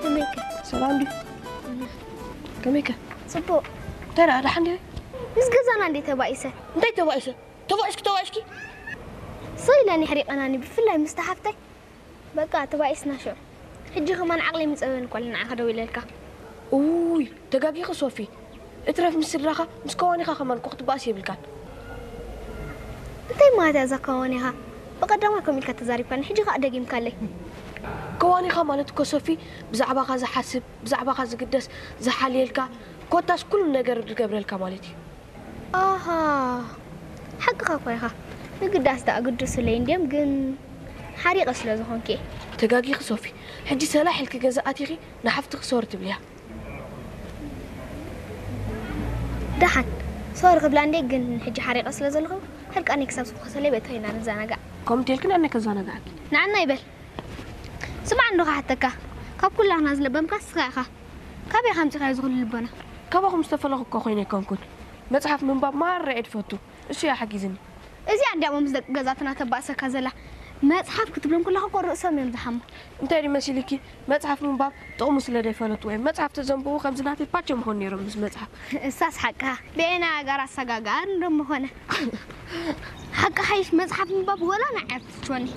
ከመይከ? ሰላም ድዩ? ከመይከ? ጽቡቕ። እንታይ ደኣ ደሓን ድዩ? ምስ ገዛና እንዴ ተባኢሰ? እንታይ ተባኢሰ? ተባኢስኪ ተባኢስኪ? ሰው ኢለን የሕሪቐናኒ፣ ብፍላይ ምስታ ሓፍተይ። በቃ ተባኢስና ሽዑ። ሕጂ ከማን ዓቕሊ ምጸበን እኮ ንዓኻ ደው ኢለልካ። ኡይ፣ ተጋጊኺ ሶፊ። እትረፍ ምስ ስድራኻ፣ ምስ ከዋኒኻ ከማን እኮ ክትባእስ የብልካን። እንታይ ማለት እያ እዛ ከዋኒኻ? ብቐዳማይ ከምኡ ኢልካ ተዛሪብካኒ፣ ሕጂ ከኣ ደጊምካለይ። ከዋኒኻ ማለት እኮ ሶፊ፣ ብዛዕባኻ ዝሓስብ፣ ብዛዕባኻ ዝግደስ፣ ዝሓልየልካ፣ ኮታስ ኩሉ ነገር ዝገብረልካ ማለት እዩ። ኣሃ፣ ሓቅኻ እኮ ኢኻ። ምግዳስ ደኣ ግዱስለይ እንድዮም፣ ግን ሓሪቐ ስለ ዝኾንኩ እየ። ተጋጊኺ ሶፊ። ሕጂ ሰላሕ ኢልኪ ገዛ ኣቲኺ ንሓፍትኺ ሶሪ ትብልያ። ደሓን ሶሪ ክብላ እንዴ፣ ግን ሕጂ ሓሪቐ ስለ ዘለኹ ሕርቃነይ ክሳብ ዝፈኾሰለይ በታ ኢና ንዘናጋዕ። ከምኡ እንተልክን ኣነ ከዘናግዓኪ። ንዓና ይበል። ስማዕ እንዶ ክሓተካ፣ ካብ ኩላህና ዝለበምካ ንስኻ ኢኻ። ካበይ ከምፂኻዮ እዚ ኩሉ ልቦና? ካባኹም ዝተፈለኹ እኮ ኮይነ ኣይኮንኩን። መፅሓፍ ምንባብ ማራ እየ ዝፈቱ። እሱ እዩ ሓጊዝኒ። እዚኣ እንድያ እሞ ምስ ደቂ ገዛትና ተባእሰካ ዘላ። መፅሓፍ ክትብሎም ከለኻ እኮ ርእሶም እዮም ዝሓሙ። እንታይ ድዩ መሲልኪ? መፅሓፍ ምንባብ ጥቕሙ ስለ ዘይፈለጥዎ እዮም። መፅሓፍ ተዘንብቡ ከምዚ ናተይ ፓቸ ምኾኑ ነይሮም ምስ መፅሓፍ። እሳስ ሓቅኻ። ብኤና ጋር ኣሰጋጋር እንዶ ምኾነ። ሓቂ ሓይሽ መፅሓፍ ምንባብ ወላ ንዓይ ትችወኒ።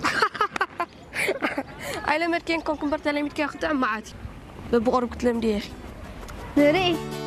ኣይለመድክዮን ኮንክ እምበር ተለሚድክያ ክጥዕም መዓት እዩ። በብቐሩብ ክትለምድዮ ኢኺ። ንርኢ።